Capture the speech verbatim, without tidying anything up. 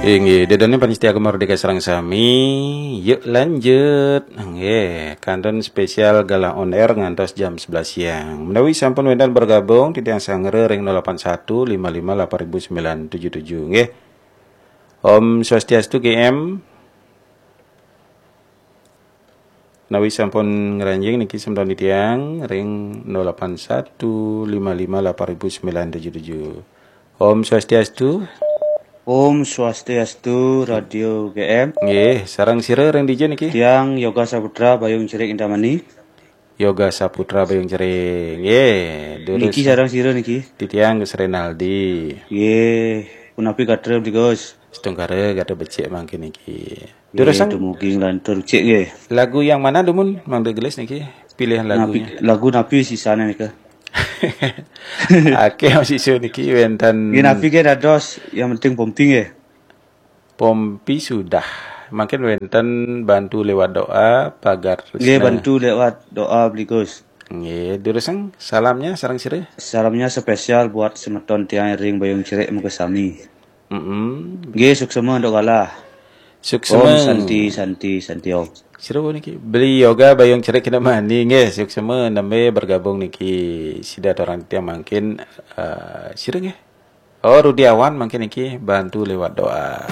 Inggih, ida dané pamiarsa Gema Merdeka sareng sami, yuk lanjut. Nggih, kantun spesial Galah on Air ngantos jam sebelas siang. Menawi sampun wénten bergabung, titiang sangra ring nol delapan satu lima lima delapan ribu sembilan tujuh tujuh. Nggih. Om Swastiastu, G M. Menawi sampun ngranjing niki semeton titiang ring nol delapan satu lima lima delapan ribu sembilan tujuh tujuh. Om Swastiastu. Om Swastiastu, Radio G M. Nggih, sareng sira ring dija niki? Tiang Yoga Saputra Bayung Cerik Indramayu. Yoga Saputra Bayung Cerik. Nggih, durus. Niki sareng sira niki? Titiang Gus Renaldi. Nggih, punapi gatra, Bli Gus? Setungkara gatra becik mangkin niki. Durus, nggih, sang. Dumugi nglantur becik nggih. Lagu yang mana dumun mangda gelis niki? Pilihan lagunya. Napi, lagu napi sisane nika? Akeh sisa niki wénten. Nggih, napi nggih dados, yang penting pompi nggih. Pompi sudah. Mangkin wénten bantu lewat doa, pagar nggih, tresna. Bantu lewat doa, Bli Gus. Nggih, durus, sang, salamnya sareng sira? Salamnya spesial buat semeton tiang ring Bayung Cerik mangkin sami. Mm-mm. Nggih, suksema antuk galah. Suksema. Om Santi, Santi, Santi Om. Sira niki? Beli Yoga Bayung Cerik Kintamani nggih, suksema nembe bergabung niki. Sida torang tiang mangkin, eh, sira nggih? Oh, Rudiawan mangkin niki bantu lewat doa.